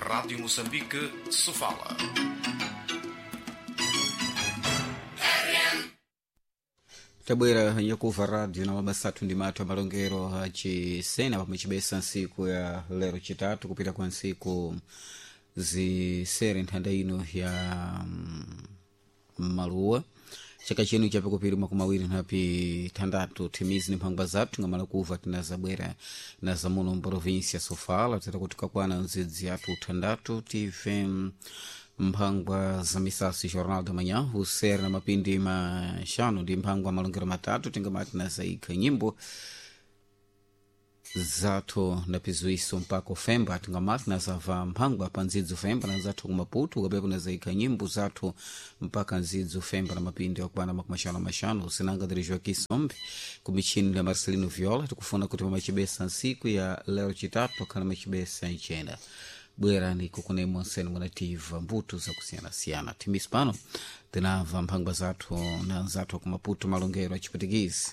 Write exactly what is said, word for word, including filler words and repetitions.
Rádio Moçambique, Sofala. Tabwera nyakuva radio na mabasa athu ndi mathu amalongero achisena pamwe chibesa ntsiku ya lero chitatu kupita kwa ntsiku zisere nthanda ino ya mm, maluwa. Chaka chino chapikupiri makumi awiri nhapi thandatu. Thimizi ni mphangwa zathu ngamala kuva tinazabwera na zamuno mprovinsia Sofala. Tera kuti kakwana nzidzi athu thandatu tive mm, mphangwa za misasi Jornal da Manhã usere na mapindi maxanu ndi mphangwa malongero matatu. Tingamati nazaikha nyimbo zathu napizuiso mpaka ufemba. Tingamati nazava mphangwa pa ndzidzi ufemba na zathu kumaputu kapepo nazaikha nyimbo zathu mpaka ndzidzi ufemba na mapindi akwana makumi axanu maxanu. Sinanga dirijo kisombe kumichini la Marcelino Viola. Tikufuna kuti pamachibesa ntsiku ya lero chitatu akhala machibesa icena bwerani kukunemo nsene munativa mbuto zakusiyanasiyana. Timisi pano tinamva mphangwa zathu na nzathu akumaputu malongero achiputikisi.